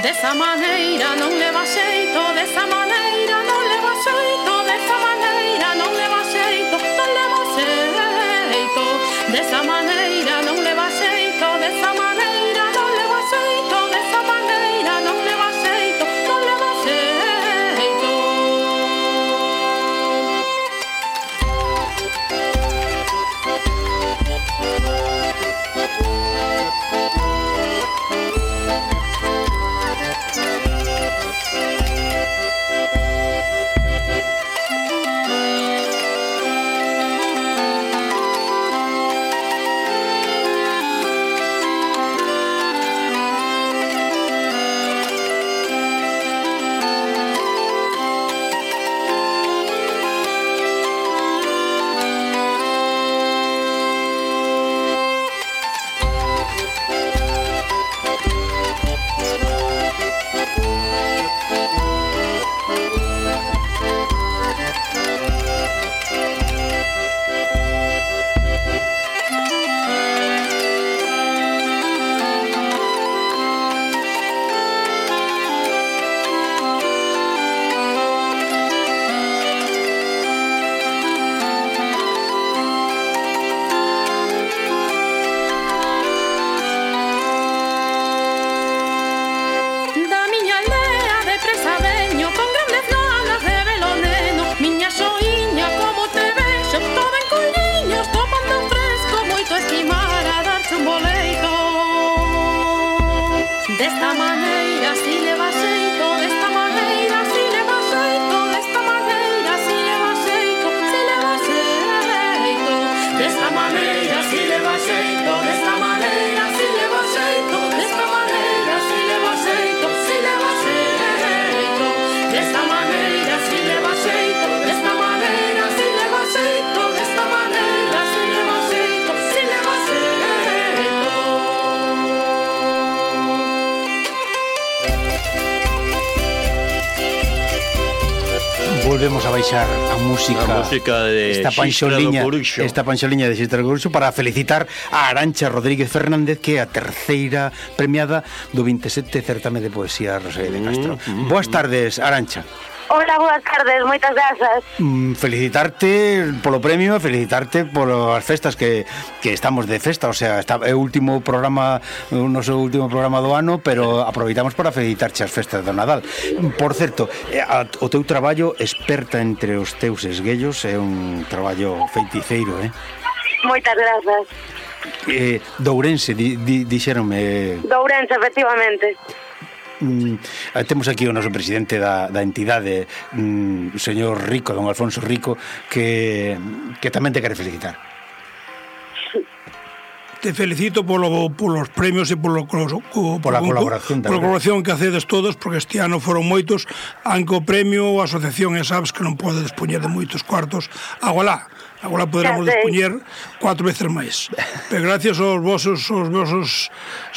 Desa maneira non leva xeito, desa maneira non leva xeito, desa maneira non leva xeito, non leva xeito, desa maneira non leva xeito, desa maneira non leva xeito, desa maneira non leva xeito, non leva xeito. Desta maneira si leva xeito, desta maneira si leva xeito, desta maneira si leva xeito, si leva xeito, desta maneira si leva xeito, desta maneira si leva xeito, desta maneira si leva xeito, si leva xeito, desta maneira si leva xeito, desta maneira si leva xeito, desta maneira si leva xeito, si leva xeito. Volvemos a baixar a música de esta panxoliña de Xistra do Coruxo para felicitar a Arantxa Rodríguez Fernández, que é a terceira premiada do 27 certame de poesía Rosalía de Castro. Boas tardes, Arantxa. Hola, boas tardes, moitas grazas. Felicitarte polo premio, felicitarte polas festas que estamos de festa, o sea, é o último programa, o noso último programa do ano, pero aproveitamos para felicitarche as festas do Nadal. Por certo, o teu traballo experta entre os teus esguellos é un traballo feiticeiro, Moitas grazas. Dourense, dixéronme. Dourense, efectivamente. Temos aquí o noso presidente da entidade, o señor Rico, don Alfonso Rico, que tamén te quere felicitar. Te felicito polos premios e pola colaboración que hacedes todos, porque este ano foron moitos, aunque o premio a asociación e sabes que non pode dispoñer de moitos cuartos. Agora poderemos dispoñer 4 veces máis, pero gracias aos vosos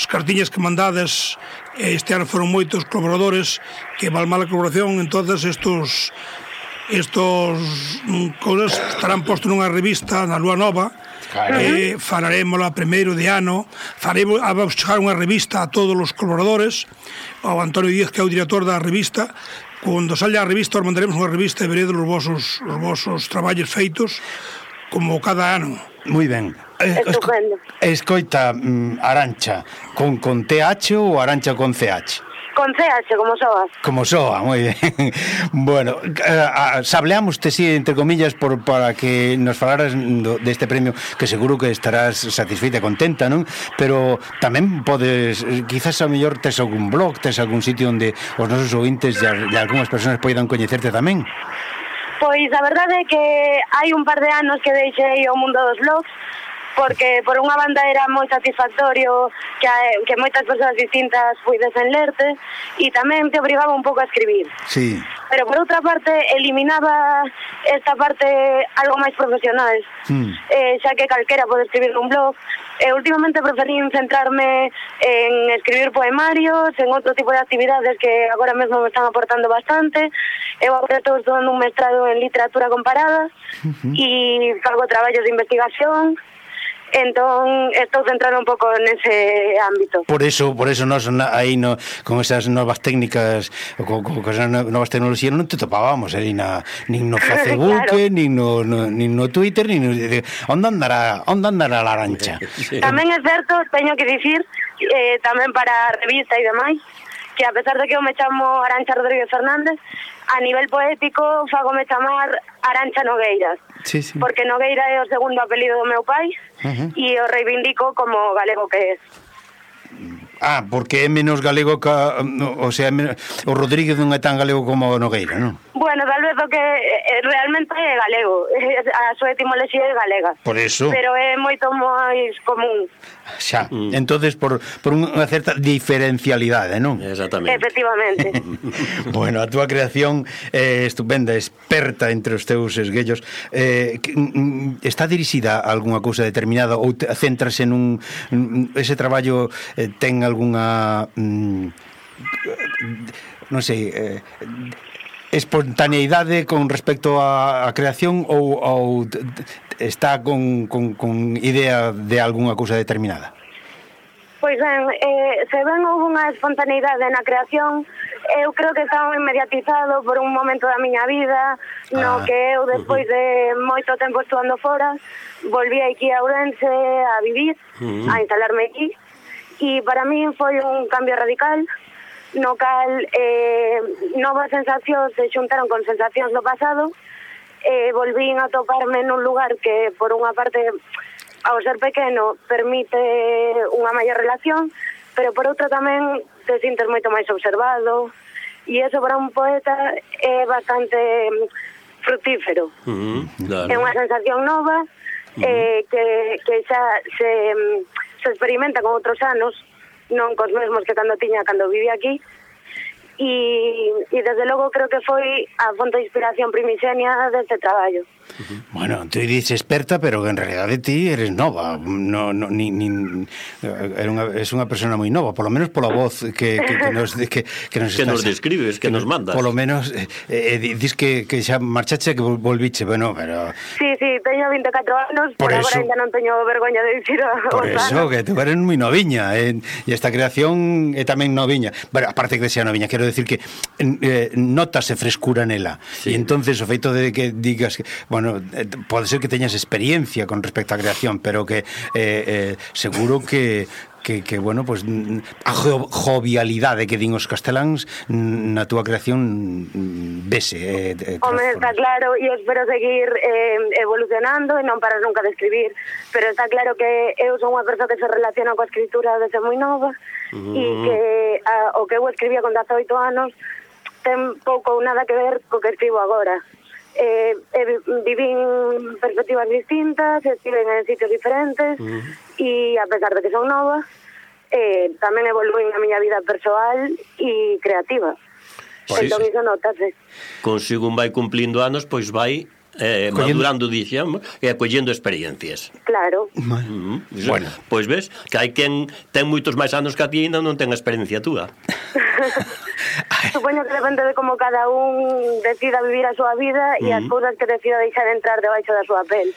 cartiñas que mandades, este ano foron moitos colaboradores que val mala colaboración. Entonces estos cousas estarán postos nunha revista na Lúa Nova. Falaremos primeiro de ano, vamos chegar unha revista a todos os colaboradores, ao Antonio Díaz, que é o director da revista. Cando salga a revista, os mandaremos unha revista e veredes os vosos traballos feitos, como cada ano. Moi ben. Estupendo. Escoita, Arancha, con TH ou Arancha con CH? Con CH, como soas. Como soa, moi ben. Bueno, sableamoste, sí, entre comillas, para que nos falaras deste premio, que seguro que estarás satisfeita e contenta, non? Pero tamén podes, quizás a mellor tes algún blog, tes algún sitio onde os nosos ouvintes e algunhas persoas poidan coñecerte tamén? Pois a verdade é que hai un par de anos que deixei o mundo dos blogs, porque por unha banda era moi satisfactorio que moitas persoas distintas puidesen lerte e tamén te obrigaba un pouco a escribir. Sí. Pero por outra parte eliminaba esta parte algo máis profesional, xa que calquera pode escribir nun blog. Últimamente preferín centrarme en escribir poemarios, en outro tipo de actividades que agora mesmo me están aportando bastante. Eu agora estou estudando un mestrado en literatura comparada e fago traballos de investigación. Entón, estou centrado un pouco nese ámbito. Por eso nos aí con esas novas técnicas, con esas novas tecnoloxías non te topábamos nin no Facebook, claro, nin no Twitter, onde andará a Arancha. Tamén é certo, teño que dicir, tamén para a revista e demais, que a pesar de que eu me chamo Arancha Rodríguez Fernández, a nivel poético fagome chamar Arancha Nogueiras. Sí, sí. Porque Nogueira é o segundo apelido do meu pai e o reivindico como galego que é. Porque é menos galego que, o sea, o Rodríguez non é tan galego como o Nogueira, non? Bueno, tal vez o que realmente é galego, a súa etimoloxía é galega. Por eso. Pero é moito máis común. Xa, entonces por unha certa diferencialidade, non? Exactamente. Efectivamente. Bueno, a túa creación é estupenda, experta entre os teus esguellos. Está dirixida a algunha cousa determinada ou centrase nun... Ese traballo ten algunha... non sei... espontaneidade con respecto á creación ou está con idea de algunha cousa determinada? Pois ben, se ben houve unha espontaneidade na creación, eu creo que está inmediatizado por un momento da miña vida, no que eu despois de moito tempo estudando fora, volví aquí a Ourense a vivir, a instalarme aquí, e para min foi un cambio radical, no cal novas sensacións se xuntaron con sensacións do pasado, volvín a toparme nun lugar que por unha parte ao ser pequeno permite unha maior relación, pero por outra tamén te sintes moito máis observado e eso para un poeta é bastante fructífero. Claro. É unha sensación nova que xa se experimenta con outros anos, non cos mesmos que cando vivía aquí, e desde logo creo que foi a fonte de inspiración primixenia deste traballo. Bueno, tú dices experta, pero en realidade ti eres nova, es unha persona moi nova, polo menos pola voz que nos describes, que nos mandas. Polo menos dis que xa marchache, que volviche, bueno, pero... Sí, teño 24 anos, pero agora ainda non teño vergoña de dicir por eso, que tú eres moi noviña, e esta creación é tamén noviña. Bueno, aparte que sea noviña, quero decir que notase frescura nela, e entonces o feito de que digas que, bueno, pode ser que teñas experiencia con respecto á creación, pero que seguro que bueno, pues a jovialidade que din os casteláns na túa creación vese. Home, está claro, e espero seguir evolucionando e non parar nunca de escribir, pero está claro que eu son unha persoa que se relaciona coa escritura desde moi nova e que o que eu escribía con 18 anos ten pouco ou nada que ver co que escribo agora. Vivín perspectivas distintas, estiven en sitios diferentes e a pesar de que son nova tamén evoluín a miña vida persoal e creativa. Entón iso notase. Consigo vai cumplindo anos, pois vai madurando, dixemos, e acollendo experiencias. Claro. Bueno, pois ves que hai quen ten moitos máis anos que a ti e ainda non ten a experiencia túa. Supoño que depende de como cada un decida vivir a súa vida e as cousas que decida deixar entrar debaixo da súa pel.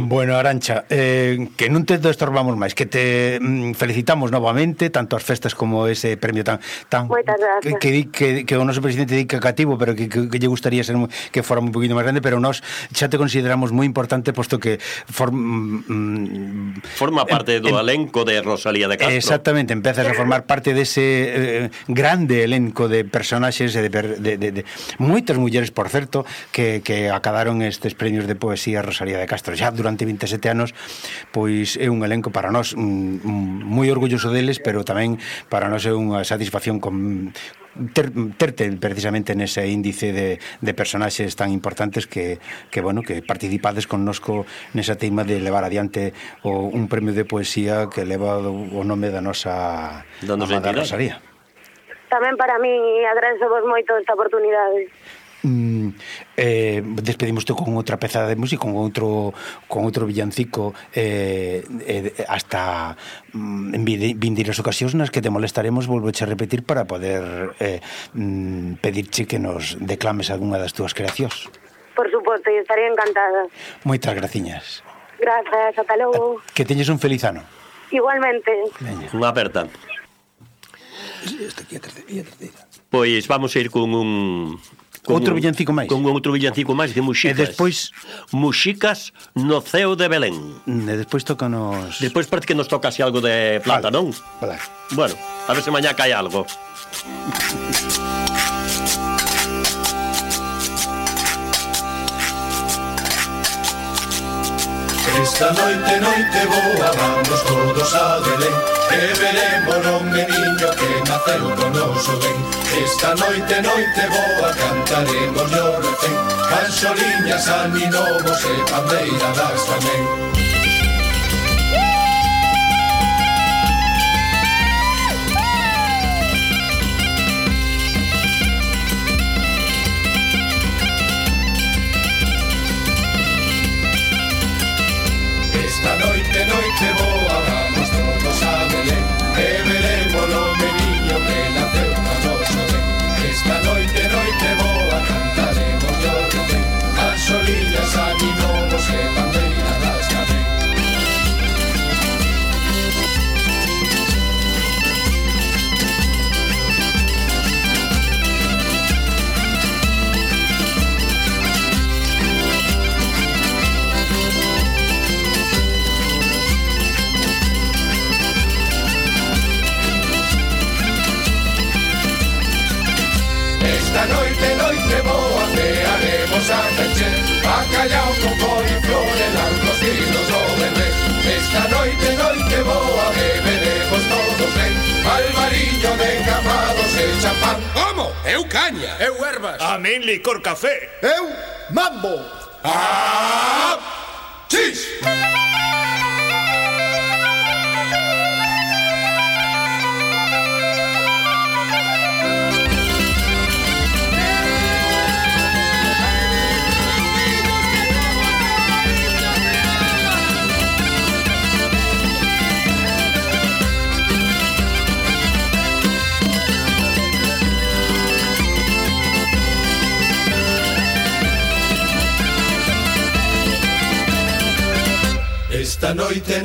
Bueno, Arantxa, que non te estorbamos máis, que te felicitamos novamente, tanto as festas como ese premio tan Moitas gracias. que o noso presidente dica cativo, pero que lle gustaría ser que fora un poquinho máis grande, pero nós xa te consideramos moi importante, posto que forma parte do elenco de Rosalía de Castro. Exactamente, empezas a formar parte dese grande elenco de personaxes e de moitas mulleres, por certo, que acadaron estes premios de poesía Rosalía de Castro. Xa durante 27 anos, pois é un elenco para nós moi orgulloso deles, pero tamén para nós é unha satisfacción terte precisamente nese índice de personaxes tan importantes que participades connosco nesa teima de levar adiante un premio de poesía que leva o nome da nosa amada Rosalía. Tamén para mí agradezo vos moito esta oportunidade. Despedimoste con outra peza de música, con outro villancico hasta vindeiras ocasións nas que te molestaremos, volveche a repetir para poder pedirche que nos declames algunha das túas creacións. Por suposto, e estaría encantada. Moitas graciñas. Grazas, ata logo. Que teñes un feliz ano. Igualmente. Unha aperta. Pois vamos a ir con outro villancico máis. Con outro villancico máis de Muxicas. E despois Muxicas no ceo de Belén. E despois tócanos. Despois parece que nos toca así algo de plata, non? Vale. Bueno, a ver se mañá cae algo. Esta noite boa vamos todos a Belén, que veremos o meniño que naceu con noso ben. Esta noite boa cantaremos o refén, canxoliñas, aninovos e pandeiradas tamén. Noite boa, vamos todos a Belén, que veremos o meniño que naceu con noso ben. Esta noite boa, cantaremos o refén, canxoliñas, aninovos e pandeiradas tamén. Esta noite boa, pearemos a peche, bacallao con coliflor e largos tiros o bebés. Esta noite boa, beberemos todos ben, albariño de camados e champán. Como? Eu caña. Eu ervas. A min licor café. Eu mambo. ¡Ah! ¡Chis! Esta noite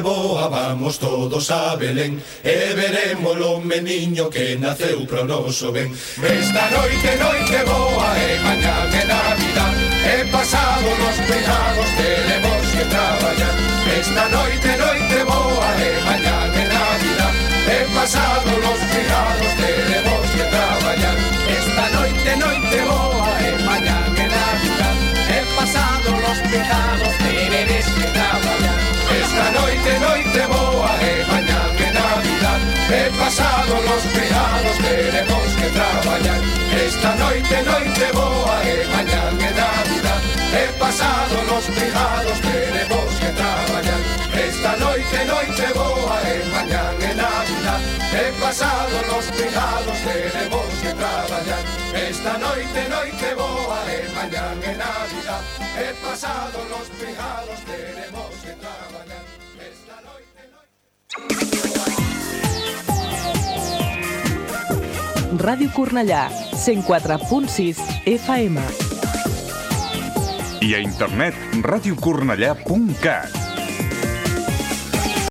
boa, vamos todos a Belén, e veremos o meniño que naceu pro noso ben. Esta noite boa, e mañá é Navidad, e pasado nos pegados teremos que traballar. Esta noite boa, e mañá é Navidad, e pasado nos pegados teremos que traballar. Esta noite boa, e mañá é Navidad, e pasado nos pegados teredes que traballar. Esta noite boa, e mañá é Navidad, e pasado los pegados tenemos que traballar. Esta noite boa, e mañá é Navidad, e pasado los pegados tenemos que traballar. Esta noite boa, e mañá é Navidad, e pasado los pegados tenemos que traballar. Esta noite boa, e mañá é Navidad, e pasado los pegados tenemos que traballar. Esta noite Ràdio Cornellà, 104.6 FM. I a internet radiocornellà.cat.